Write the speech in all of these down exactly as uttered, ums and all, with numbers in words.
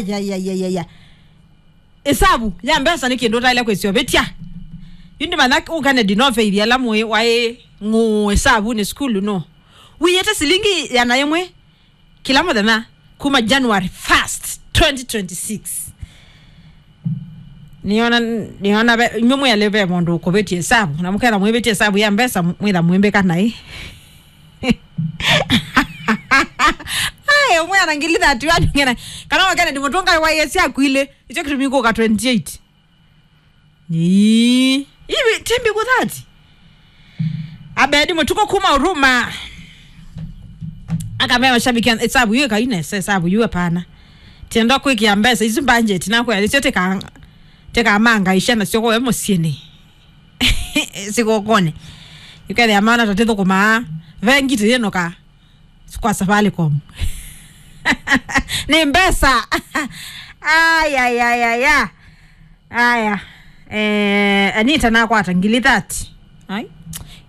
ya, ya, ya, ya, ya. Ĩsavu ya mbesa nĩ kĩndũ ũtaĩle kwĩsĩovĩtya. Yu ndĩmanya ũ Kennedy no faith ala mwĩ waĩ ng'ũũ ĩsavunĩ sukulu no. Wĩĩte silingi ĩana yĩmwe kĩla mũthenya kuma January first, twenty twenty-six. Nĩona, nĩona ve, inyuĩ mwĩalĩ ve mũndũ ũkũvĩtye ĩsavu, na mũketha mwĩvĩtye ĩsavu ya mbesa, mwĩtha mwĩmbĩka naĩ. Ai, ũmwe ana ngili thirty-one ngena. Kana wakene ndimũtũnga waĩe syaku ilĩ. Icho kĩtumi kũka twenty-eight. Ii. Ivi, timbi kuthati. Abedi Mũtuko kuma Uruma. Akamea mashabiki, ĩsavu yu ĩkainese, ĩsavu yu hapana. Tienda kwĩkĩa mbesa, isu budget, nakwĩa, icio tika, tikamangaisha nasyo kwa we mũsyĩnĩ. Sikũkũnĩ. Yukethĩa maana tatĩthũkũmaa. Vengi tĩyĩnũka. Kwa Safaricom. Nĩ mbesa. Ay, ay, ay, ay, ay. Aya. Eh, Anita nakwata ngili thirty. Ai.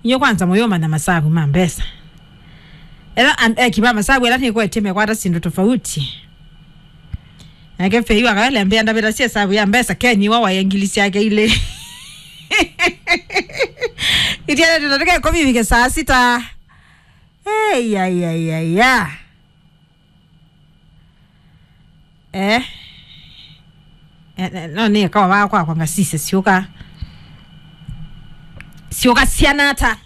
Inyo kwanza mũyũmanya masavu ma mbesa. Ela an-, eki ba masavu ela nĩkwetye mekwata sindu tofauti. Nake Fei wakaelembea ndavĩta sie savu ya mbesa, Ken wa waye ngili syake ilĩ. Itiale tena tuke kovivike saa sita. Hey, ya, ya, ya, ya. Eh. Eh, eh, no nĩ kawa kwakwa ngasise syũka. Syũka syana ata.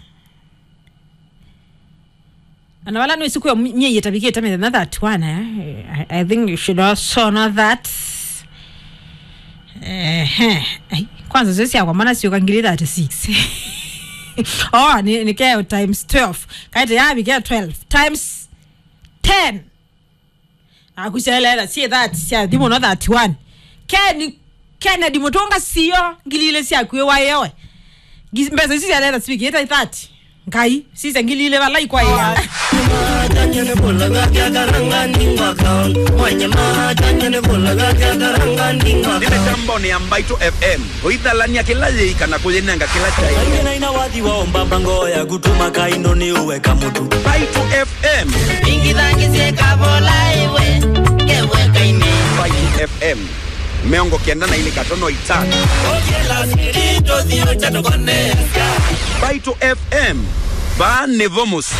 Ana wala nĩ siku ya nyie yetavikĩte mĩthenya thirty-one, eh? I, I think you should also know that. Ehe. Ai, kwanza sio syakwa mana syũka ngili thirty-six. Oh, nĩ, nĩ keo times twelve. Kaite ya bike twelve times ten. Akusyalela sie thirty sya thimu no thirty-one. Ken, Kennedy Mũtũnga sio ngili ilĩ syaku ĩwaĩe we. Ngi-, mbesa isu syalela sivikĩte thirty. Ngai, sisya ngili ilĩ vala ikwaĩa. Nĩ mĩtambonĩ ya Mbaitũ F M. Ũithalania kĩla yĩika na kũyĩnenga kĩla kyaĩ. Aingĩ na ina wathi wa ũmbamba ngoo yaku tũmaka indo nĩ ũweka mũtu. Mbaitũ F M. Ingithangisye kavola iwe, ngeweka ine. Mbaitũ F M. Mĩongo kenda na ilĩ katono itano. Oye la sirito thio cha tokone. Mbaitũ F M. Vaa nĩvo mũsyĩ.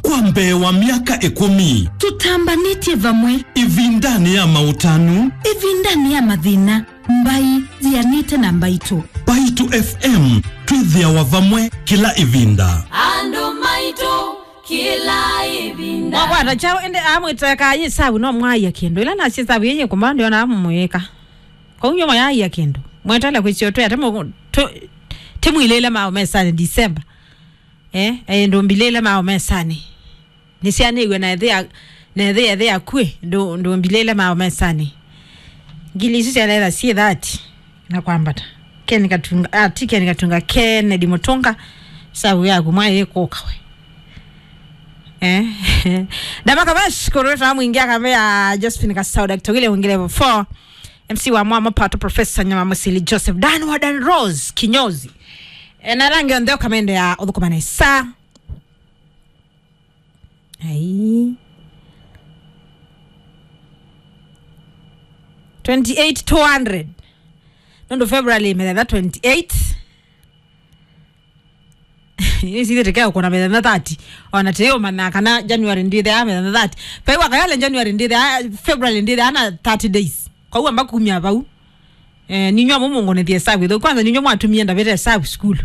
Kwa mbee wa myaka ĩkũmi. Tũtambanĩtye vamwe. Ĩvindanĩ ya maũtanu. Ĩvindanĩ ya mathĩna. Mbai yianĩte na Mbaitũ. Mbaitũ F M, twĩthĩawa vamwe kĩla ĩvinda. Andũ maitũ kĩla ĩvinda. Mwakwata kyaũ ĩndĩ amwĩteka yĩsavu no mwaia kĩndũ. Ĩla nasye ĩsavu yĩyĩ kũma ndĩona amũmwĩka. Kwoou nyw'o mwayaia kĩndũ. Mwetele kwĩsyo twĩ ate mũ-, tũ-, tĩmwilĩle mao mesanĩ December. Eh, eh, ndũmbilĩle mao mesanĩ. Nĩsyanĩw'e na ĩthĩa, na ĩthĩa ĩthĩa kwĩ, ndũ-, ndũmbilĩle mao mesanĩ. Ngili isu syaletha syĩ thirty na kwambata. Ken Katunga, ah, ti Ken Katunga, Kennedy Mũtũnga, savu yaku mwaĩ ĩkũka we. Eh. Ndama Kavesh, kũrwĩta mwingĩ akamea Josephine Kasau, Doctor William Ngelevo four, M C wa Mwamo Pato, Professor Nyama Musili, Joseph Dan wa Dan Rose, Kinyozi. Eh, na rangi onthe ũkamende ya ũthũkũma nesa. Ai. Twenty-eight two hundred. Nũndũ February mĩthenya twenty-eight. Ĩsithĩte kea kũna mĩthenya thirty. Ona tĩyũmanya kana January ndĩthea mĩthenya thirty. Paiwa kayale January ndĩthea, February ndĩthea na thirty days. Kwa hiyo amba kumia vau. Eh, ninywa mũmũngonethie savu ĩthũ. Kwanza ninywa mwatumie ndavĩte savu sukulu.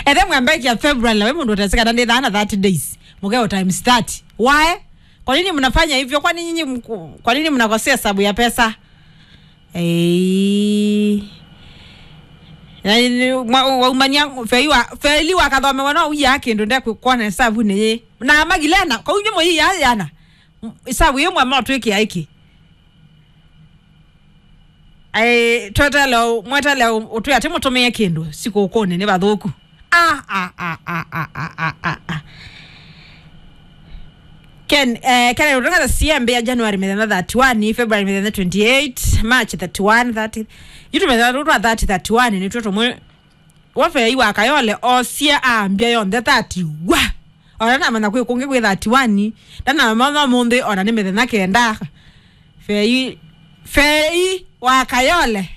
Ethe mwambekia February, na we mũndũ ũteseka na ndĩthaa na thirty days. Mukeo times thirty. Why? Kwa nini mnafanya hivyo? Kwa nini nyinyi mku-, kwa nini mnakosea sababu ya pesa? Eh. Na ni-, mwa-, waumania feli wa, feli wakathomewa no uya kĩndũ nde ku-, kuona sababu nĩ. Na magilena, kwa unyo mo hii ya yana. Sababu yemwe motwĩkĩa ĩkĩ. Ai, twetele, mwetele ũtwĩ atĩ mũtũmĩe kĩndũ sikũkũnĩ nĩ vathũku. Ah, ah, ah. Ken, eh, Ken, ũtũngata siembe ya January mĩthenya thirty-one, February mĩthenya twenty-eight, March thirty-one, thirty. Yu tũmĩthenya tũtũ twa thirty, thirty-one, nĩtwo tũmwe Wa Fei wa Kayole osie ambia yonthe thirty wa. Ona namanya kwĩ kũngĩ kwĩ thirty-one. Ndanamanya mũnthĩ ona nĩ mĩthenya kenda. Fei, Fei wa Kayole.